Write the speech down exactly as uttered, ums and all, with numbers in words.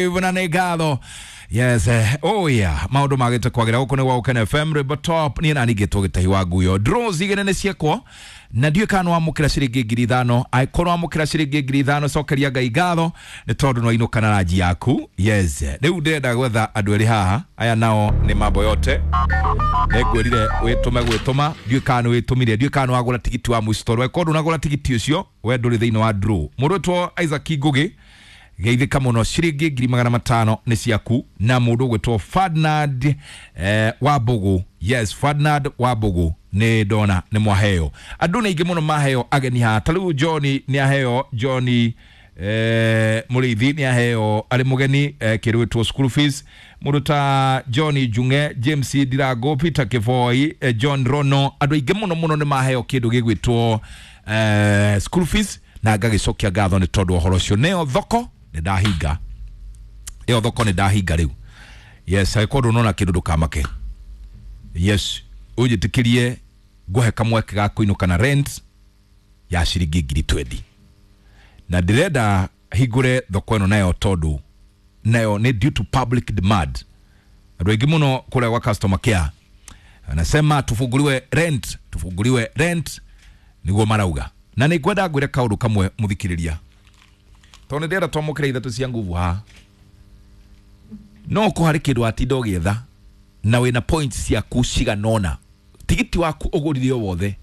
Na nĩ ngatho. Yes, eh, oh yeah, maũndũ magĩte kwagĩra gũkũ nĩ gwa Gũkena F M, rwĩmbo top. Niĩ nani ngĩtwo Gĩtahi wa Nguyo. Draws igĩrĩ nĩ ciekwo na ndiũĩ kana nĩwamũkĩra ciringi ngiri ithano. Angĩkorwo wamũkĩra ciringi ngiri ithano, cokeria Ngai ngatho nĩ tondũ nĩwainũka na ranji yaku. Yes, rĩu ndĩrenda gwetha andũ erĩ haha. Aya nao nĩ mambo yote. Nĩngwĩrire wĩtũme gwĩtũma, ndiũĩ kana nĩwĩtũmire, ndiũĩ kana nĩwagũra tigiti wa mũico, tondũ angĩkorwo ndũnagũra tigiti ũcio, we ndũrĩ thĩinĩ wa draw. Mũndũ wĩtwo Isaac Ngugi, geithĩka mũno, ciringi ngiri magana matano nĩ ciaku. Na mũndũ ũgwĩtwo Ferdinand eh, Wambugu, yes, Ferdinand Wambugu, nĩ ndona nĩ mwaheo. Andũ nĩ aingĩ mũno maheo, ageni haha. Ta rĩu John nĩ aheo, John eh, Mũrĩithi nĩ aheo arĩ mũgeni eh, kĩndũ gwĩtwo school fees. Mũndũ ta John Junge, James Ndirango, Peter Kĩboi, eh, John Rono, andũ aingĩ mũno mũno nĩ maheo kĩndũ gĩgwĩtwo eh, school fees, na ngagĩcokia ngatho nĩ tondũ wa ũhoro ũcio. Nĩyo thoko nĩ ndahinga, ĩyo thoko nĩ ndahinga rĩu. Yes, angĩkorwo ndũnona kĩndũ, ndũkamake. Yes, ũnjĩtĩkĩrie ngũhe kamweke ga kũinũka na rent ya ciringi ngiri twenty, na ndĩrenda hingũre thoko ĩno nayo tondũ nayo nĩ due to public demand. Andũ aingĩ mũno kũrĩa gwa customer care anasema tufunguliwe rent, tufunguliwe rent, nĩguo marauga. Na nĩ ngwenda ngwĩre kaũndũ kamwe, mũthikĩrĩria, tondũ nĩ ndĩrenda twamũkĩra ithatũ cia nguvu haha. No ko harĩ kĩndũ watinda ũgĩetha na wĩna points ciaku cigana ũna, tigiti waku ũgũrire o wothe.